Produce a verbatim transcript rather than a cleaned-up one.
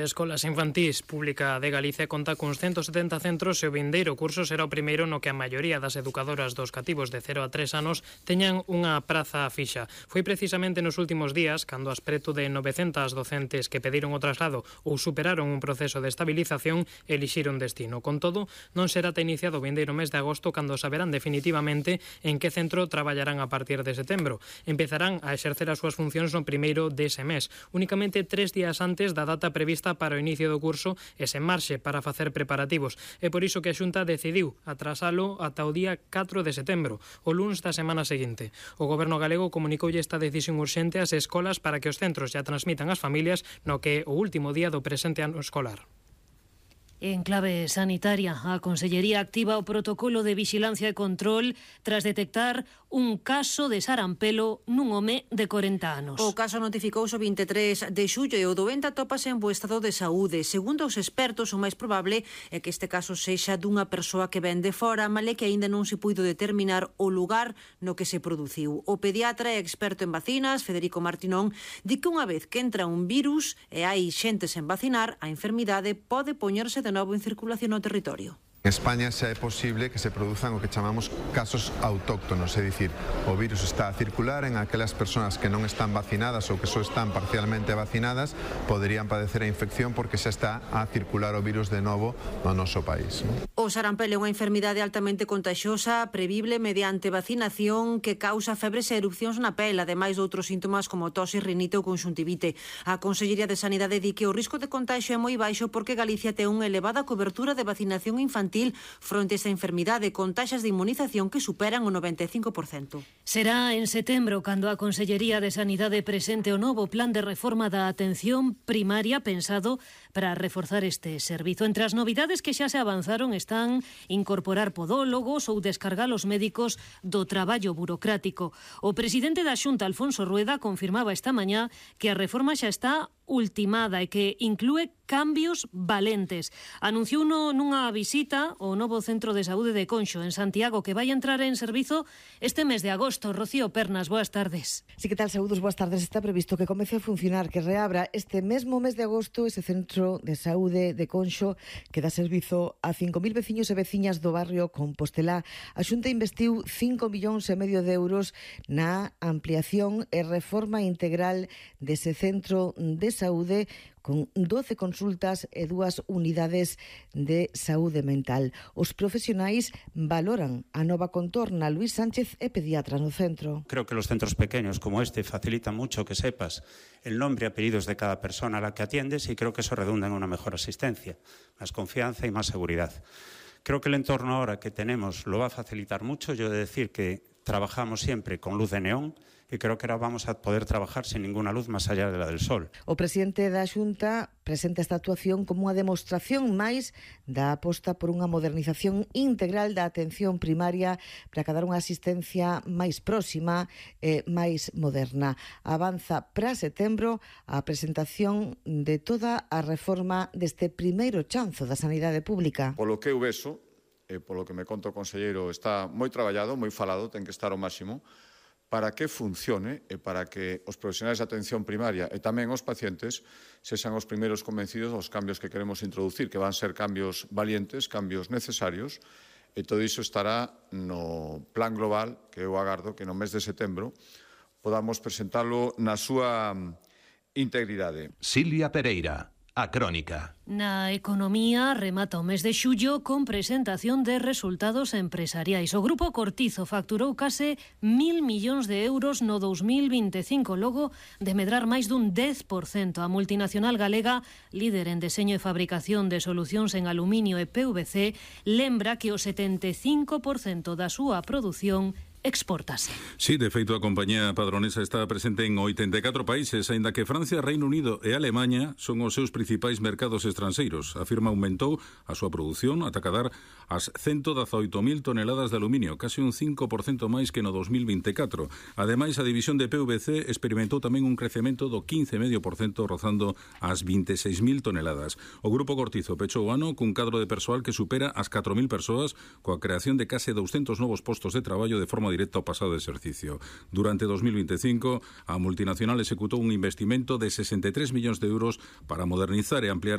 Escolas Infantís Pública de Galicia conta cuns ciento setenta centros e o vindeiro curso será o primeiro no que a maioría das educadoras dos cativos de cero a tres anos teñan unha praza fixa. Foi precisamente nos últimos días cando as preto de novecentas docentes que pediron o traslado ou superaron un proceso de estabilización elixiron destino. Con todo, non será ata iniciado o vindeiro mes de agosto cando saberán definitivamente en que centro traballarán a partir de setembro. Empezarán a exercer as súas funcións no primeiro dese mes, únicamente tres días antes da data prevista para o inicio do curso e sen marxe para facer preparativos. É por iso que a Xunta decidiu atrasalo ata o día catro de setembro, o luns da semana seguinte. O Goberno galego comunicoulle esta decisión urxente ás escolas para que os centros xa transmitan ás familias no que é o último día do presente ano escolar. En clave sanitaria, a Consellería activa o protocolo de vixilancia e control tras detectar un caso de sarampelo nun home de corenta anos. O caso notificouse o vinte e tres de xullo e o doente atópase en bo estado de saúde. Segundo os expertos, o máis probable é que este caso sexa dunha persoa que ven de fora, male que aínda non se puido determinar o lugar no que se produciu. O pediatra e experto en vacinas, Federico Martinón, di que unha vez que entra un virus e hai xente sen vacinar, a enfermidade pode poñerse de novo en circulación no territorio. En España xa é posible que se produzan o que chamamos casos autóctonos, é dicir, o virus está a circular en aquelas persoas que non están vacinadas ou que só están parcialmente vacinadas, poderían padecer a infección porque xa está a circular o virus de novo no noso país. O sarampelo é unha enfermidade altamente contagiosa, previble mediante vacinación que causa febres e erupcións na pel, ademais de outros síntomas como tose, rinite ou conxuntivite. A Consellería de Sanidade di que o risco de contagio é moi baixo porque Galicia ten unha elevada cobertura de vacinación infantil fronte a esta enfermidade con taxas de inmunización que superan o noventa e cinco por cento. Será en setembro cando a Consellería de Sanidade presente o novo plan de reforma da atención primaria pensado para reforzar este servizo. Entre as novidades que xa se avanzaron están incorporar podólogos ou descargar os médicos do traballo burocrático. O presidente da Xunta, Alfonso Rueda, confirmaba esta mañá que a reforma xa está ultimada e que inclúe cambios valentes. Anunciou no, nunha visita ao novo Centro de Saúde de Conxo, en Santiago, que vai entrar en servizo este mes de agosto. Rocío Pernas, boas tardes. Sí, que tal, saúdos, boas tardes. Está previsto que comece a funcionar, que reabra este mesmo mes de agosto ese Centro de Saúde de Conxo que dá servizo a cinco mil veciños e veciñas do barrio Compostelá. A Xunta investiu cinco millóns e medio de euros na ampliación e reforma integral dese Centro de Saúde con doce consultas e dúas unidades de saúde mental. Os profesionais valoran a nova contorna. Luís Sánchez é pediatra no centro. Creo que los centros pequeños como este facilitan mucho que sepas el nombre y apellidos de cada persona a la que atiendes y creo que eso redunda en una mejor asistencia, más confianza y más seguridad. Creo que el entorno ahora que tenemos lo va a facilitar mucho. Yo he de decir que trabajamos siempre con luz de neón e creo que ahora vamos a poder trabajar sin ninguna luz máis allá de la del sol. O presidente da Xunta presenta esta actuación como unha demostración máis da aposta por unha modernización integral da atención primaria para que dar unha asistencia máis próxima e máis moderna. Avanza para setembro a presentación de toda a reforma deste primeiro chanzo da sanidade pública. Polo que eu vexo, e polo que me conta o conselleiro, está moi traballado, moi falado, ten que estar ao máximo, para que funcione e para que os profesionais de atención primaria e tamén os pacientes sexan os primeiros convencidos dos cambios que queremos introducir, que van ser cambios valientes, cambios necesarios, e todo iso estará no plan global que eu agardo que no mes de setembro podamos presentalo na súa integridade. Silvia Pereira, A Crónica. Na economía remata o mes de xullo con presentación de resultados empresariais. O Grupo Cortizo facturou case mil millóns de euros no dous mil vinte e cinco, logo de medrar máis dun dez por cento. A multinacional galega, líder en deseño e fabricación de solucións en aluminio e P V C, lembra que o setenta e cinco por cento da súa produción exportase. Sí, de feito a compañía padronesa está presente en oitenta e catro países, aínda que Francia, Reino Unido e Alemaña son os seus principais mercados estranxeiros. A firma aumentou a súa produción ata cadar as ciento dezaoito mil toneladas de aluminio, case un cinco por cento máis que no dous mil vinte e catro. Ademais, a división de P V C experimentou tamén un crecemento do quince vírgula cinco por cento, rozando as vinte e seis mil toneladas. O Grupo Cortizo pechou o ano cun cadro de persoal que supera as catro mil persoas, coa creación de case douscentos novos postos de traballo de forma forma directa ao pasado exercicio. Durante dos mil veinticinco, a multinacional executou un investimento de sesenta e tres millóns de euros para modernizar e ampliar